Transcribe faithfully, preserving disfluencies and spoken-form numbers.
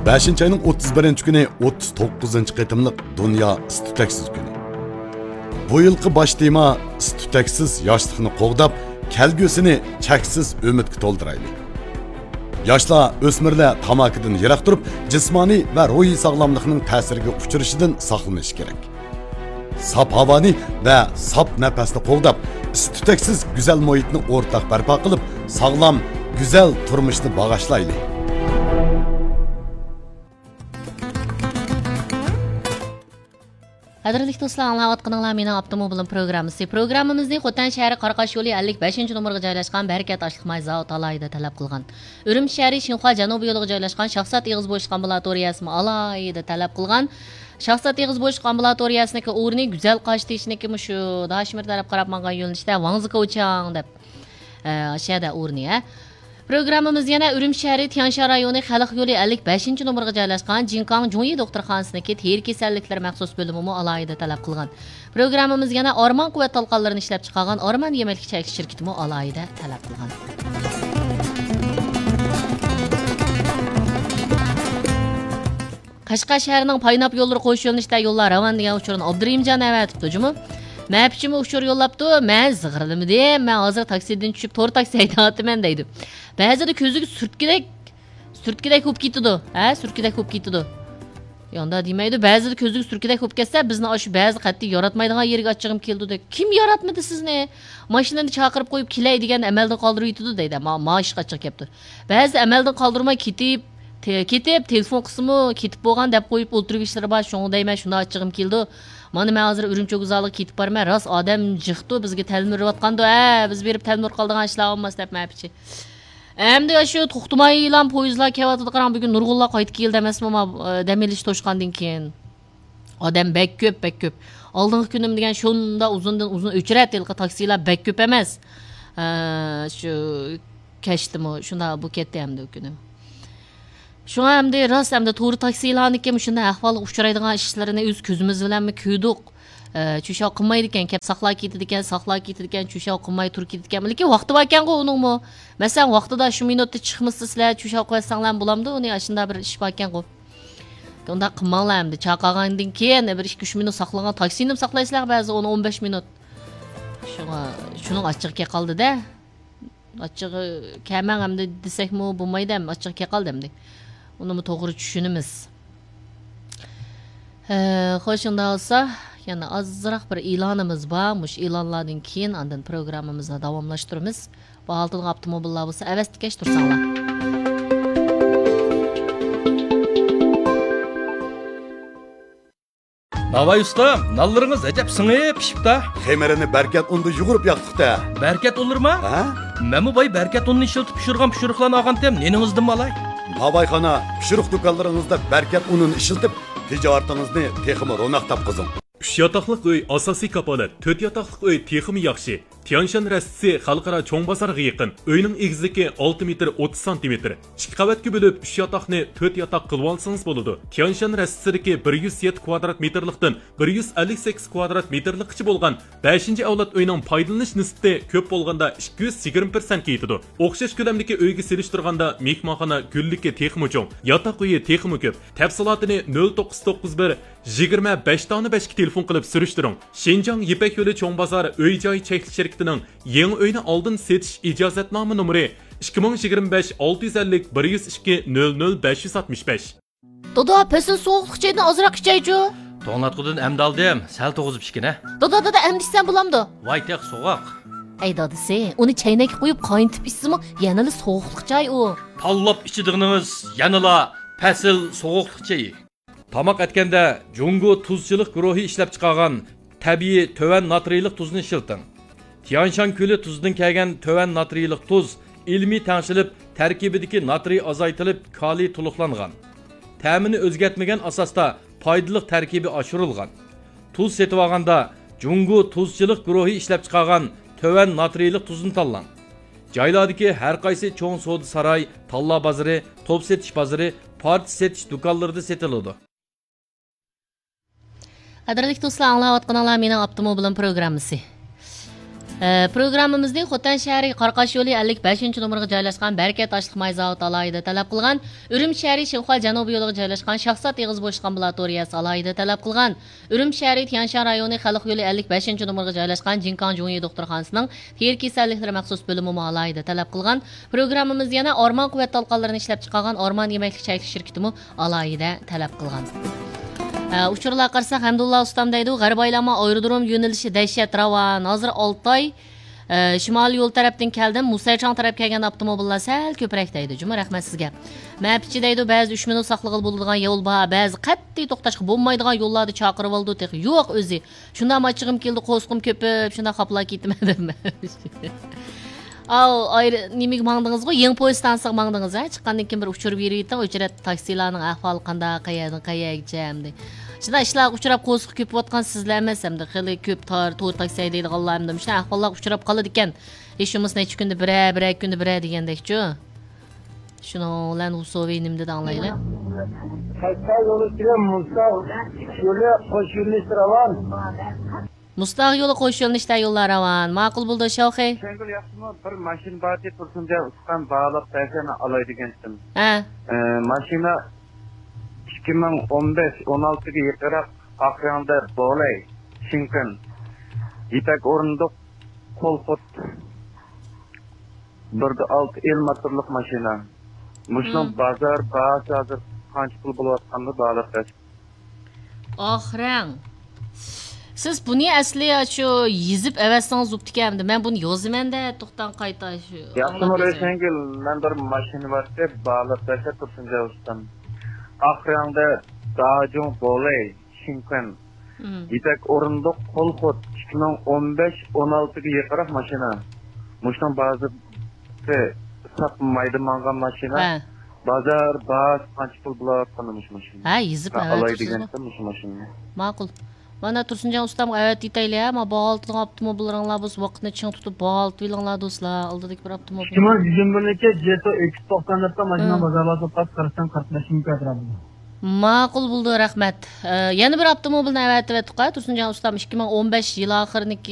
بەشىنچى ئاينىڭ ئوتتۇز بىرىنچى كۈنى ئوتتۇز توققۇزىنچى قېتىملىق دۇنيا ئىس-تۈتەكسىز كۈنى. بۇ يىلقى باش تېما ئىس-تۈتەكسىز ياشلىقنى قوغداپ، كەلگۈسىنى چەكسىز ئۈمىدكە تولدۇرايلى. ياشلار، ئۆسمۈرلەر تاماكىدىن يىراق تۇرۇپ، جىسمانىي ۋە روھىي ساغلاملىقنىڭ تەسىرىگە ئۇچرىشىدىن ساقلىنىشى كېرەك. ساپ ھاۋانى ۋە ساپ نەپەسنى قوغداپ، ئىس-تۈتەكسىز گۈزەل مۇھىتنى ئورتاق بەرپا قىلىپ، ساغلام، گۈزەل تۇرمۇشنى باغاشلايلى. قەدىرلىك دوستلار، ئاڭلاۋاتقىنىڭلار مېنىڭ ئاپتوموبىلىم پروگراممىسى. پروگراممىمىزنى خوتەن شەھىرى قاراقاش يولى ئەللىك بەشىنچى نومۇرغا جايلاشقان بەرىكەت ئاشلىق ماي زاۋۇتى ئالاھىدە تەلەپ قىلغان. ئۈرۈمچى شەھىرى شىنخۇا جەنۇبىي يولىغا جايلاشقان شاھزات ئېغىز بوشلۇق ئامبۇلاتورىيەسىمۇ ئالاھىدە تەلەپ قىلغان. شاھزات ئېغىز بوشلۇق ئامبۇلاتورىيەسىنىڭكى ئورنى گۈزەل قاشتېشىنىڭكى مۇشۇ داشمىر تەرەپ قاراپ ماڭغان يۆنىلىشتە ۋاڭزىكوچياڭ دەپ، ئە، ئاشۇ يەردە ئورنى، ھە. پروگراممىمىز يەنە ئۈرۈمچى شەھىرى تيەنشان رايونى خەلق يولى ئەللىك بەشىنچى نومۇرغا جايلاشقان جىنكاڭ جۇڭيى دوختۇرخانىسىنىڭكى تېرە كېسەللىكلىرى مەخسۇس بۆلۈمىمۇ ئالاھىدە تەلەپ قىلغان. پروگراممىمىز يەنە ئارمان قۇۋۋەت تالقانلىرىنى ئىشلەپچىقارغان ئارمان يېمەكلىك چەكلىك شىركىتىمۇ ئالاھىدە تەلەپ قىلغان. قەشقەر شەھىرىنىڭ پايناپ يوللىرى قوش يۆنىلىشتە يوللار راۋان دېگەن ئۇچۇرنى ئابدۇرېھىمجان ئەۋەتىپتۇ جۇمۇ. مەپىچىمۇ ئۇچۇر يوللاپتۇ، مەن زىغىرلىمىدىم، مەن ھازىر تاكسىدىن چۈشۈپ تور تاكسى ھەيدەۋاتىمەن دەيدۇ. بەزىدە كۆزىگە سۈرتكىدەك، سۈرتكىدەك بولۇپ كېتىدۇ، ھە، سۈرتكىدەك بولۇپ كېتىدۇ. ياندا دېمەيدۇ، بەزىدە كۆزىگە سۈرتكىدەك بولۇپ كەتسە، بىزنى ئاشۇ بەزى قەتئىي ياراتمايدىغان يېرىگە ئاچچىقىم كېلىدۇ دەيدۇ. كىم ياراتمىدى سىزنى؟ ماشىنىنى چاقىرىپ قويۇپ كېلەي دېگەن ئەمەلدىن قالدۇرۇۋېتىدۇ دەيدۇ. ما، ما ئىشقا ئاچچىقى كېلىپتۇ. بەزىدە ئەمەلدىن قالدۇرماي كېتىپ، تې-، كېتىپ، تېلېفون قىلسىمۇ، كېتىپ بولغان دەپ قويۇپ ئولتۇرۇۋېلىشلىرى بار. شۇڭا دەيمەن، شۇنداق ئاچچىقىم كېلىدۇ. مانا مەن ھازىر ئۈرۈمچى ۋوگزالىغا كېتىپ بارىمەن. راست ئادەم جىقتۇ، بىزگە تەلمۈرۈۋاتقاندۇ. ھە، بىز بېرىپ تەلمۈرۈپ قالىدىغان ئىشلار بولماس دەپ مەپىچى. ئەمدى ئاشۇ توختىمايلا پويىزلار كېلىۋاتىدۇ، قاراڭ، بۈگۈن نۇرغۇنلار قايتىپ كېلدى ئەمەسمۇ، ما، دەم ئېلىش توشقاندىن كېيىن. ئادەم بەك كۆپ، بەك كۆپ. ئالدىنقى كۈنۈم دېگەن شۇنداق ئۇزۇندىن ئۇزۇن ئۆچرەتتى، ھېلىقى تاكسىلار بەك كۆپ ئەمەس. ئە، شۇ كەچتىمۇ شۇنداق بولۇپ كەتتى ئەمدى ئۇ كۈنى. شۇڭا ئەمدى راست ئەمدى تور تاكسىلارنىڭكى مۇشۇنداق ئەھۋالغا ئۇچرايدىغان ئىشلىرىنى ئۆز كۆزىمىز بىلەنمۇ كۆردۇق. ئە، چۈشەۋ قىلمايدىكەن، كەپ ساقلاپ كېتىدىكەن، ساقلاپ كېتىدىكەن، چۈشەۋ قىلماي تۇرۇپ كېتىدىكەن. لېكىن ۋاقتى باركەنغۇ ئۇنىڭمۇ. مەسىلەن، ۋاقتىدا شۇ مىنۇتتا چىقمىسا سىلەر چۈشەۋ قىلىۋەتسەڭلارمۇ بولامدۇ ئۇنى، ئاشۇنداق بىر ئىش باركەنغۇ. ئۇنداق قىلماڭلار ئەمدى. چاقىرغاندىن كېيىن بىر ئىككى ئۈچ مىنۇت ساقلىغان تاكسىنىمۇ ساقلايسىلەر بەزى ئون، ئون بەش مىنۇت. شۇڭا، شۇنىڭ ئاچچىقى كەلدى-دە. ئاچچىقى كەلمەڭ ئەمدى دېسەكمۇ بولمايدۇ ئەمدى، ئاچچىقى كەلدى ئەمدى. ئۇنىمۇ توغرا چۈشىنىمىز. ھە، خوش، شۇنداق بولسا، يەنە ئازراق بىر ئېلانىمىز بار. مۇشۇ ئېلانلاردىن كېيىن ئاندىن پروگراممىمىزنى داۋاملاشتۇرىمىز. بۇ ھالىتىدىغان ئاپتوموبىللار بولسا ئەۋەتكەچ تۇرساڭلار. ناۋاي ئۇستا، نانلىرىڭىز ئەجەب سىڭىپ پىشىپتا. خېمىرىنى بەركەت ئۇندا يۇغۇرۇپ ياقتۇق-تە. بەركەت ئۇنلىرىما؟ ھە؟ مەنمۇ باي بەركەت ئۇنىنى ئىشلىتىپ پىشۇرغان پىشۇرۇقلارنى ئالغانتىم، نېنىڭىزدىنمۇ ئالاي؟ ناۋايخانا، پىشۇرۇق دۇكانلىرىڭىزدا بەركەت ئۇنىنى ئىشلىتىپ، تىجارىتىڭىزنى تېخىمۇ روناق تاپقۇزۇڭ. ئۈچ ياتاقلىق ئۆي ئاساسىي كاپالەت، تۆت ياتاقلىق ئۆي تېخىمۇ ياخشى. تيانشان رەستىسى خەلقئارا چوڭ بازارغا يېقىن. ئۆينىڭ ئېگىزلىكى ئالتە مېتىر ئوتتۇز سانتىمېتىر. ئىككى قەۋەتكە بۆلۈپ، ئۈچ ياتاقنى تۆت ياتاق قىلىۋالسىڭىز بولىدۇ. تيانشان رەستىسىدىكى بىر يۈز يەتتە كۋادرات مېتىرلىقتىن بىر يۈز ئەللىك سەككىز كۋادرات مېتىرلىققىچە بولغان بەشىنچى ئەۋلاد ئۆينىڭ پايدىلىنىش نىسبىتى كۆپ بولغاندا ئىككى يۈز يىگىرمە پىرسەنتكە يېتىدۇ. ئوخشاش كۆلەمدىكى ئۆيگە سېلىشتۇرغاندا مېھمانخانا گۈللۈكى تېخىمۇ چوڭ، ياتاق ئۆيى تېخىمۇ كۆپ. تەپسىلاتىنى نۆل توققۇز توققۇز بىر، يىگىرمە بەش دانە بەشكە تېلېفون قىلىپ سۈرۈشتۈرۈڭ. شىنجاڭ يىپەك يولى چوڭ بازار ئۆي جاي چەكلىك شىركىتىنىڭ يېڭى ئۆينى ئالدىن سېتىش ئىجازەتنامە نومۇرى ئىككى مىڭ يىگىرمە بەش ئالتە يۈز ئەللىك بىر يۈز ئىككى نۆل نۆل بەش يۈز ئاتمىش بەش. دادا، پەسىل سوغۇقلۇق چايدىن ئازراق ئىچەيچۇ. توڭلاتقۇدىن ئەمدى ئالدىم، سەل توغۇزۇپ ئىچكىنە. دادا، دادا، ئەمدى ئىچسەم بولامدۇ؟ ۋاي تېخى سوغۇق. ئەي دادىسى، ئۇنى چەينەككە قۇيۇپ قاينىتىپ ئىچسىمۇ يەنىلا سوغۇقلۇق چاي ئۇ. تاللاپ ئىچىدىغىنىڭىز يەنىلا پەسىل سوغۇقلۇق چېيى. تاماق ئەتكەندە جۇڭگو تۇزچىلىق گۇرۇھى ئىشلەپچىقارغان تەبىئىي تۆۋەن ناترىيلىق تۇزنى ئىشلىتىڭ. تيانشان كۆلى تۇزىدىن كەلگەن تۆۋەن ناترىيلىق تۇز ئىلمىي تەڭشىلىپ، تەركىبىدىكى ناترىي ئازايتىلىپ، كالىي تولۇقلانغان. تەمىنى ئۆزگەرتمىگەن ئاساستا پايدىلىق تەركىبى ئاشۇرۇلغان. تۇز سېتىۋالغاندا جۇڭگو تۇزچىلىق گۇرۇھى ئىشلەپچىقارغان تۆۋەن ناترىيلىق تۇزنى تاللاڭ. جايلاردىكى ھەر قايسى چوڭ سودا ساراي، تاللا بازىرى، توپ سېتىش بازىرى، پارچە سېتىش دۇكانلىرىدا سېتىلىدۇ. قەدىرلىك دوستلار، ئاڭلاۋاتقىنىڭلار مېنىڭ ئاپتوموبىلىم پروگراممىسى. ئە، پروگراممىمىزنى خوتەن شەھىرى قاراقاش يولى ئەللىك بەشىنچى نومۇرغا جايلاشقان بەرىكەت ئاشلىق ماي زاۋۇتى ئالاھىدە تەلەپ قىلغان، ئۈرۈمچى شەھىرى شىنخۇا جەنۇبىي يولىغا جايلاشقان شاھزات ئېغىز بوشلۇق ئامبۇلاتورىيەسى ئالاھىدە تەلەپ قىلغان، ئۈرۈمچى شەھىرى تيەنشان رايونى خەلق يولى ئەللىك بەشىنچى نومۇرغا جايلاشقان جىنكاڭ جۇڭيى دوختۇرخانىسىنىڭ تېرە كېسەللىكلىرى مەخسۇس بۆلۈمىمۇ ئالاھىدە تەلەپ قىلغان. پروگراممىمىز يەنە ئارمان قۇۋۋەت تالقانلىرىنى ئىشلەپچىقارغان ئارمان يېمەكلىك چەكلىك شىركىتىمۇ ئالاھىدە تەلەپ قىلغان. ئە، ئۇچۇرلارغا قارىساق، ھەمدۇللا ئۇستام دەيدۇ، غەربىي ئايلانما ئايرودروم يۆنىلىشى دەھشەت راۋان. ھازىر ئالتاي، ئە، شىمالىي يول تەرەپتىن كەلدىم. مۇسەيچاڭ تەرەپ كەلگەندە ئاپتوموبىللار سەل كۆپرەك دەيدۇ. جۇمۇ رەھمەت سىزگە. مەپىچى دەيدۇ، بەزىدە ئۈچ مىنۇت ساقلىغىلى بولىدىغان يول بار، بەزى قەتئىي توختاشقا بولمايدىغان يوللاردا چاقىرىۋالىدۇ، تېخى يوق ئۆزى. شۇنداق ئاچچىقىم كېلىدۇ، قورسىقىم كۆپۈپ، شۇنداق خاپىلاپ كېتىمەن دەپ. ئاۋۇ، ئايرى-، نېمىگە ماڭدىڭىزغۇ؟ يېڭىپوي ئىستانسىغا ماڭدىڭىز، ھە؟ چىققاندىن كېيىن بىر ئۇچۇر بېرىۋېتىڭ، ئۆچرەت تاكسىلارنىڭ ئەھۋالى قانداق، قەيەردىن قەيەرگىچە ئەمدى. شۇنداق ئىشلارغا ئۇچراپ قورسىقى كۆپۈۋاتقان سىزلا ئەمەس، ئەمدى خېلى كۆپ تار-، تور تاكسى ھەيدەيدىغانلار ئەمدى مۇشۇنداق ئەھۋاللارغا ئۇچراپ قالىدىكەن. ھېچ بولمىسا نەچچە كۈندە بىرەر، بىرەر كۈندە بىرەر دېگەندەكچۇ. شۇنىڭ بىلەن ئۇسوۋى نېمە دېدى ئاڭلايلى. قەشقەر يولى ئۈستىگە مۇشتاق يولى قوش يۆنىلىشتە راۋان. مۇشتاق يولى قوش يۆنىلىشتە يوللار راۋان. ماقۇل بولدى، شاۋخەي. شەڭگۈل ياخشىمۇ؟ بىر ماشىنا بار ئىدى، تۇرسۇنجان ئۇستام باھالاپ بەرسە، مەن ئالاي دېگەنتىم. ھە. ئە، ماشىنا ئىككى مىڭ ئون بەش، ئون ئالتىگە يېقىنراق، ئاق رەڭدە بولەي، شىنكەن، يىپەك ئورۇندۇق، قول خۇت. بىر دە ئالتە ئېل موتورلۇق ماشىنا. مۇشۇنىڭ بازار باھاسى ھازىر قانچە پۇل بولۇۋاتقانلىقى باھالاپ بەرسە. ئاق رەڭ. سىز بۇنى ئەسلى شۇ يېزىپ ئەۋەتسىڭىز بوپتىكەن ئەمدى. مەن بۇنى يازىمەن-دە، توختاڭ قايتا شۇ. ياخشىمۇ ئاڭلاپ يازاي. رۆشەنگۈل، مەن بىر ماشىنا بارتى، باھالاپ بەرسە تۇرسۇنجان ئۇستام. ئاق رەڭدە داجۇڭ بولەي، شىنكەن. مم. يىپەك ئورۇندۇق، قول خۇت، ئىككى مىڭ ئون بەش، ئون ئالتىگە يېقىنراق ماشىنا. مۇشۇنىڭ بازىرى ساپ مايدا ماڭغان ماشىنا. ھە. بازار باھاسى قانچە پۇل بولۇۋاتقاندا مۇشۇ ماشىنا؟ ھە، يېزىپ ھە، ئالاي ئەۋەتىپسىزغۇ. دېگەنتىم مۇشۇ ماشىنىنى. ماقۇل. مانا تۇرسۇنجان ئۇستامغا ئەۋەتىۋېتەيلى، ھە، ما باھالىتىدىغان ئاپتوموبىللىرىڭلار بولسا ۋاقىتنى چىڭ تۇتۇپ باھالىتىۋېلىڭلار دوستلار. ئالدىدىكى بىر ئاپتوموبىل. ئىككى مىڭ يىگىرمە بىرنىڭكى جېتو ئېكس توقسان دەپتۇ، ماشىنا بازار باھاسى قارىسام قىرىق بەش مىڭ ئەتراپىدا. ماقۇل بولدى، رەھمەت. ئە، يەنە بىر ئاپتوموبىلنى ئەۋەتىۋەتتۇق-ھە، تۇرسۇنجان ئۇستام، ئىككى مىڭ ئون بەش يىل ئاخىرىنىڭكى